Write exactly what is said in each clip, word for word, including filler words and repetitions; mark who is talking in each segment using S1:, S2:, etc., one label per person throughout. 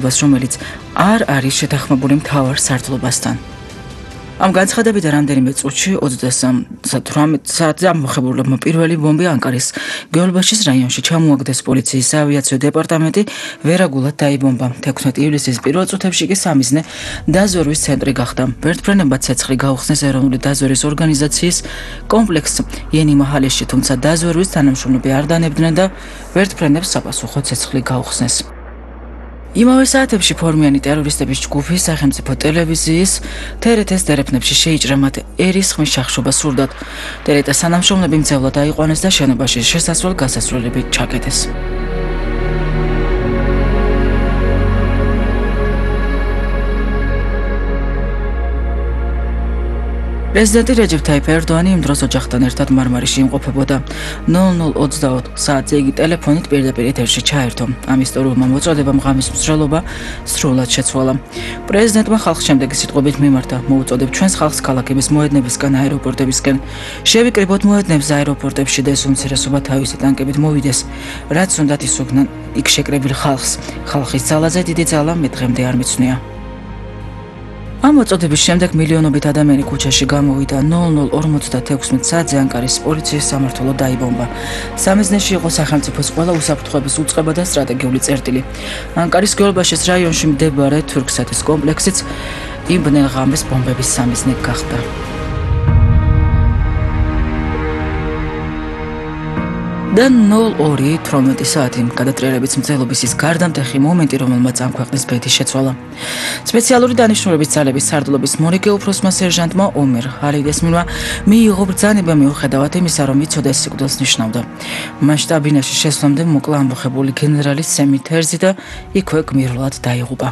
S1: რომელიც არ არის შეთანხმებული მთავარ სარდლობასთან. Am განცხადებით რამდენიმე წუთში ოცდასამ საათზე ამოხებულებმა პირველი ბომბი ანკარის გეოლბაშის რაიონში ჩამოაგდეს პოლიციის საავიაციო დეპარტამენტი ვერაგულად დაიბომბა. თექვსმეტი ივლისის პირველ წუთებში კი სამიზნე დაზვერვის ცენტრი გახდა. ვერტმფრენებმა ცეცხლი გაუხსნეს ეროვნული დაზვერვის ორგანიზაციის კომპლექსს იენი-მაჰალეში, თუმცა დაზვერვის თანამშრომლები არ დანებდნენ და ვერტმფრენებს საპასუხო ცეცხლი გაუხსნეს. იმავე საათებში ფორმიანი ტერორისტების ჯგუფი სახელმწიფო ტელევიზიის თერეთეს დერეფნებში შეიჭრა მათ ერისხმის შახშობა სურდათ. ტერეტას თანამშრომლები მძევლად აიყვანეს და შენობაში შესასვლელ გასასვლელები ჩაკეტეს. პრეზიდენტი რეჯეფ თაიფ ერდოანი იმ დროს ოჯახთან ერთად მარმარიში იმყოფებოდა. ნულ ნულ ოცდაოთხ საათზე იგი ტელეფონით პირდაპირ ეთერში ჩაერთო. ამ ისტორიულმა მოწოდებამ ღამის მსვლელობა სრულად შეცვალა. პრეზიდენტმა ხალხს შემდეგი სიტყვებით მიმართა: მოუწოდებ ჩვენს ხალხს ქალაქების მოედნებისგან, აეროპორტებისკენ. შევიკრიბოთ მოედნებს აეროპორტებში და ეს უმცირესობა თავისი ტანკებით მოვიდეს. რაც უნდათ ისუქნან იქ შეკრებილ ხალხს. ხალხის ძალაზე დიდი ძალა მე დღემდე არ მიცვნია. ამ მოწოდების შემდეგ მილიონობით ადამიანი ქუჩაში გამოვიდა. ნულ ნულ ორმოცდათექვსმეტ საათზე ანკარის პოლიციის სამმართველო დაიბომბა. სამიზნეში იყო სახელმწიფოს ყველა უსაფრთხოების უწყება და სტრატეგიული წერტილი. ანკარის გეოლბაშის რაიონში მდებარე თურქსათის კომპლექსიც იმ ბნელ ღამეს ბომბების სამიზნე გახდა. და ნულ ორი თვრამეტი საათი გადატრიალების მცდელობის ის გარდამტეხი მომენტი, რომელმაც ამ ქვეყნის ბედი შეცვალა. სპეციალური დანიშნულების ძალების სარდლობის მორიგე უფროსმა სერჟანტმა ომერ ჰალიდესმილმა მიიღო ბრძანება მიუხედავად იმისა, რომ იცოდა სიკვდილს ნიშნავდა. მან შტაბინაში შესვლამდე მოკლა ამბოხებული გენერალი სემი თერზი და იქვე გმირულად დაიღუპა.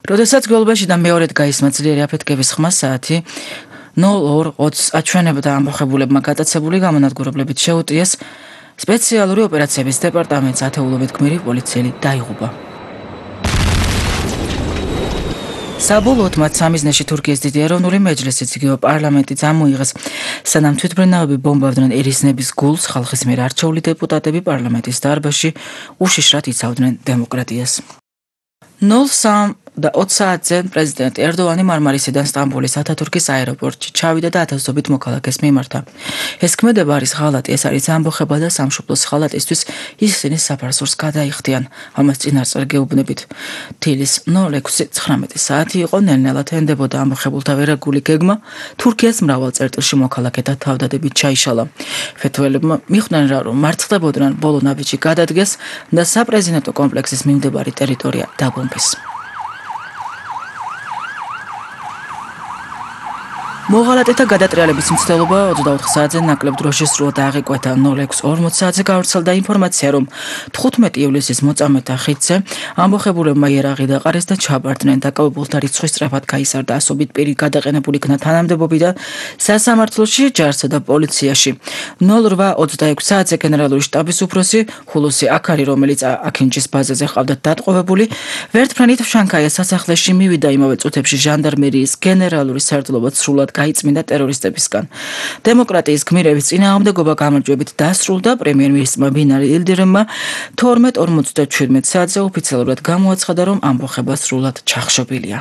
S1: როდესაც გეოლბაშიდან მეორედ გაისმა ძლიერი აფეთქების ხმა საათი ნულ ორ ოცს აჩვენებდა ამბოხებულებმა გატაცებული გამონადგურებლებით შეუტიეს სპეციალური ოპერაციების დეპარტამენტს ათეულობით გმირი პოლიციელი დაიღუპა. საბოლოოდ მათ სამიზნეში თურქიის დიდი ეროვნული მეჯლისიც იგივე პარლამენტი წამოიღეს. სანამ თვითმფრინავები ბომბავდნენ ერისნების გულს, ხალხის მიერ არჩეული დეპუტატები პარლამენტის დარბაზში უშიშრად იცავდნენ დემოკრატიას. ნულ სამ და ოცი საათზე პრეზიდენტ ერდოანი მარმარისიდან სტამბოლის ათათურქის აეროპორტში ჩავიდა და ათასობით მოქალაქეს მიმართა. ეს ქმედება არის ღალატი, ეს არის ამბოხება და სამშობლოს ღალატისთვის ისინი საფარსურს გადაიხდიან. ამას წინასწარ გეუბნებით. თილის ნულ ექვსი ცხრამეტი საათი იყო, ნელ-ნელად ენდებოდა ამბოხებულთა ვერაგული გეგმა. თურქიას მრავალ წერტილში მოქალაქეთა თავდადებით ჩაიშალა. ფეთოელებმა მიხვდნენ რა, რომ მარცხდებოდნენ ბოლო ნაბიჯი გადადგეს და საპრეზიდენტო კომპლექსის მიმდებარე ტერიტორია დაბომბეს. მოღალატეთა გადატრიალების მცდელობა ოცდაოთხ საათზე ნაკლებ დროში სრულად აღიკვეთა. ნულ ექვსი ორმოცი საათზე გავრცელდა ინფორმაცია, რომ თხუთმეტი ივლისის მოწამეთა ხიდზე ამბოხებულებმა იარაღი დაყარეს და ჩაბარდნენ. დაკავებულთა რიცხვი სწრაფად გაიზარდა. ასობით პირი გადაყენებული იქნა თანამდებობიდან სასამართლოში, ჯარსა და პოლიციაში. ნულ რვა ოცდაექვსი საათზე გენერალური შტაბის უფროსი ჰულუსი აქარი, რომელიც აქინჯის ბაზაზე ჰყავდათ დატყვევებული, ვერტმფრენით შანქაიას სასახლეში მივიდა. იმავე წუთებში ჟანდარმერიის გენერალური სარდლობა სრულად გაიწმინდა ტერორისტებისგან. დემოკრატიის გმირების წინააღმდეგობა გამარჯვებით დასრულდა. პრემიერ-მინისტრმა ბინალი ილდირემმა თორმეტ ორმოცდაჩვიდმეტ საათზე ოფიციალურად გამოაცხადა, რომ ამბოხება სრულად ჩახშობილია.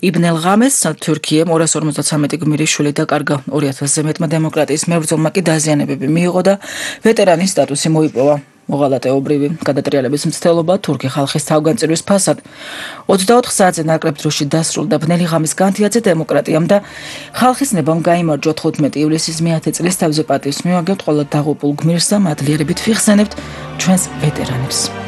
S1: იბნელ ღამეს თურქიამ ორას ორმოცდათვრამეტი გმირი შვილი დაკარგა. ორი ათასზე მეტმა დემოკრატიის მებრძოლმა კი დაზიანებები მიიღო და ვეტერანის სტატუსი მოიპოვა. მოღალატეობრივი გადატრიალების მცდელობა თურქი ხალხის თავგანწირვის ფასად ოცდაოთხ საათზე ნაკლებ დროში დასრულდა. ბნელი ღამის განთიადზე დემოკრატიამ და ხალხის ნებამ გაიმარჯვა. თხუთმეტი ივლისის მეათე წლის თავზე პატივს მივაგებთ ყველა დაღუპულ გმირს და მადლიერებით ვიხსენებთ ჩვენს ვეტერანებს.